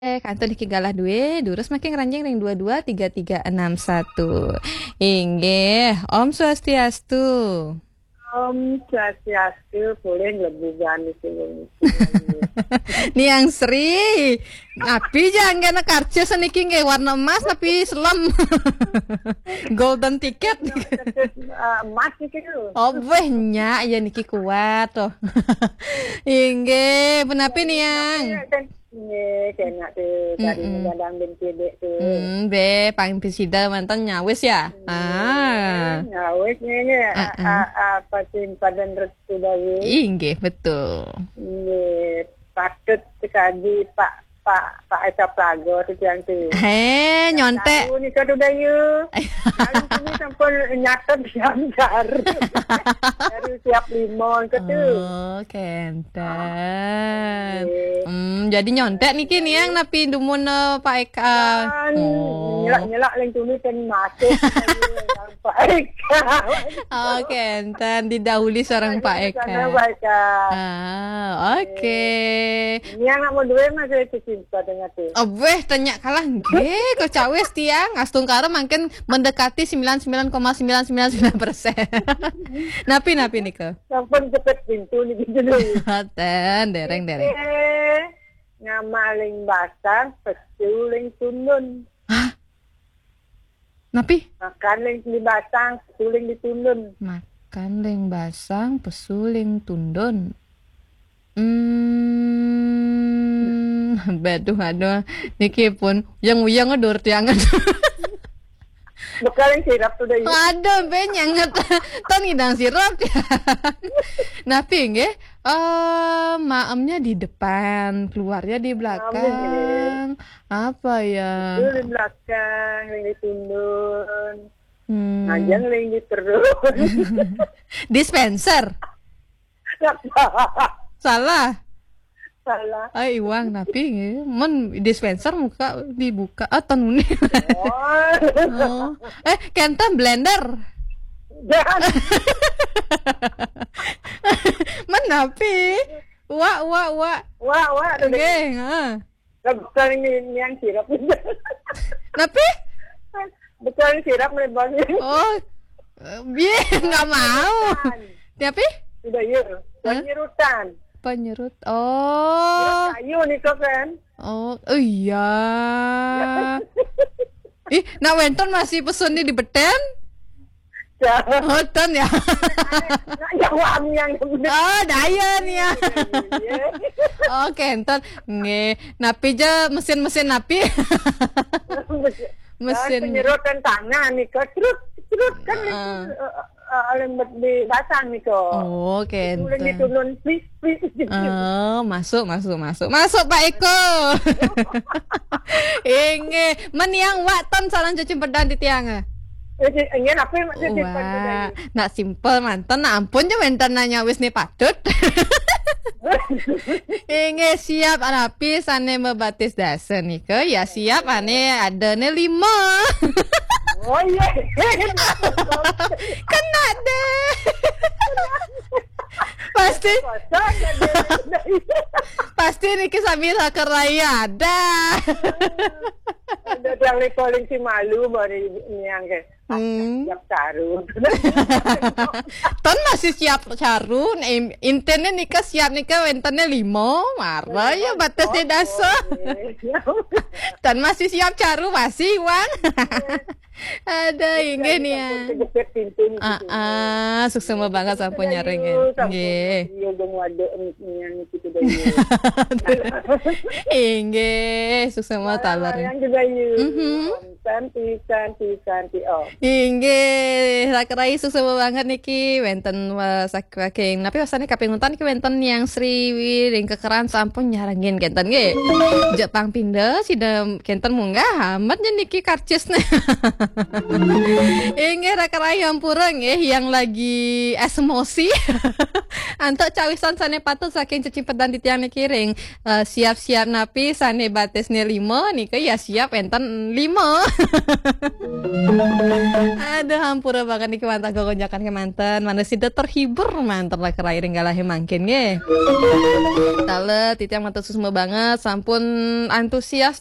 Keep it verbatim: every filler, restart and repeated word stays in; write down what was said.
Eh, kantun niki galah duwe, durus mangkin ngranjing ring dua dua tiga tiga enam satu. Inggih, Om Swastiastu. Om Swastiastu, polih nglebu gani sing. Niang Sri, napi ja anggena karcis niki nggih warna emas napi selem? Golden ticket. Karcis, eh, emas niki lho. Oh, weh, nyak ya niki kuat tuh. Inggih, punapi Niang? Nggih, kenak tu, tadi Mm-mm. Gadang bin Kidik tu. Hmm, be, pang pisida mantan nyawis ya? Ah. Nyawis ni, ni, Ah, ah. A-, a-, apa sih, padan restu dari? Inggih, betul. Nggih, patut sekali Pak, Pak, Pak Eka Plago tu tiang tu. He, nyontek. Tahu ni kau tu, Dayu. Kali ni sampun nyatet jam baru. Baru siap lima ke tu. Oh, kenten. Nggih. Hmm, jadi nyontek niki Niang napi dumun, eh, Pak Eka? Kan, Oh. nyelak-nyelak lain tuni kan masuk. Pak Eka. Oh, kenten. Didahului seorang Pak Eka. Sana Pak Eka. Ah, oke. Niang nak mau duit masih tersimpan dengan tu. Oh, weh, tanya kalah. Nggih, kok cawis tiang. Astungkara mangkin mendekati sembilan sembilan koma sembilan sembilan sembilan persen. Napi, napi nika? Sampun jepit pintu niki jenengan. Ten, dereng, dereng. Eh, ngamaling basang, pesu ling tundun. Hah? Napi? Makan ling di basang, pesu ling di tundun. Makan ling basang, pesu ling tundun. Hmm, baduh, aduh. Niki pun uyang-uyang adur tiangan. Bekal yang sirap tu dah, ya. Aduh, be nyanget. Tan ngidang sirap. Napi nggih? Eh, maemnya di depan, keluarnya di Maemnya di belakang. Apa ya? Itu di belakang, yang di tundun. Hmm. Ngajang yang di perut. Dispenser. Salah. Salah. Ai, iwang napi nggih? Mun dispenser muka dibuka. Ah, tan uning. Oh. Oh. Eh, kenten blender. Jangan. Mun napi? Wak, wak, wak. Wak, wak, tu Nggih, ha. Lah, bukan ini, ini yang sirap. Napi? Bukan sirap, melebar. Oh, eh, biar nggak mau. Bukan. Napi? Sudah, ya. Hah? Penyerutan. Penyerut. Oh. Kayu ni kau kan? Oh, oh iya. Ih, nak wenten masih pesun ni di beten? Ya. Oh, ten ya. Nak jawab yang benar. Oh, daya ni ya. Iya. Oh, kenten. Nggih. Napi ja mesin-mesin napi? Mesin. Mesin. Penyerutan tangan ni kau. Cerut, cerut kan Ah. itu, eh, eh, oleh di basang ni kau. Oh, kenten. Boleh diturun, please, please. Oh, masuk, masuk, masuk. Masuk, Pak Eko. Inggih. Meniang wak ton sareng cecimpedan titiang. Eh, si-, inggih, apa maksud cecimpedan Wah, tadi? Nak simpel manten, nak ampun je wenten nanya wis ni patut. Inggih, siap napi sane mabatis dasa nika? Ya, siap ane adane lima. Oh, iya. Kena deh. Pasti, Kosong ada. Pasti niki sami rakeraya ada. Ada yang paling si malu baru niang ke. Hmm. Siap caru. Ton masih siap caru. Em, intine nika siap nika wentene lima. Mara ya batasnya dasa. Oke. Ton masih siap caru, masih, Wan. Ada, inggih nih ya. Kejepit pintu ni Ah, gitu. Ah, suksma banget sampun Sudah nyarengin. Yuk, sampun Nggih. Yuk, dong waduk ni, ni, ni, gitu deh, yuk. Inggih, suksma taler. Yang juga, yuk. Mhm. Om Santi, Santi, Santi, Om. Inggih, rakerai suksma banget niki wenten, eh, saking napi wasane kaping untan niki wenten Niang Sri ring kekeran sampun nyarengin kenten nggih. Jek pang pinda sida kenten munggah amat nya niki karcisne. Inggih, rakerai ampura nggih yang lagi esmosi. Antuk cawisan sane patut saking cecimpedan titiang niki ring, eh, siap-siap napi sane batisne lima nika ya siap enten lima. Aduh, hampura banget niki wantah gogonjakan kemanten. Mana sida terhibur manten lah kerain galahe mangkin nggih. Tale titiang matur suksma banget, sampun antusias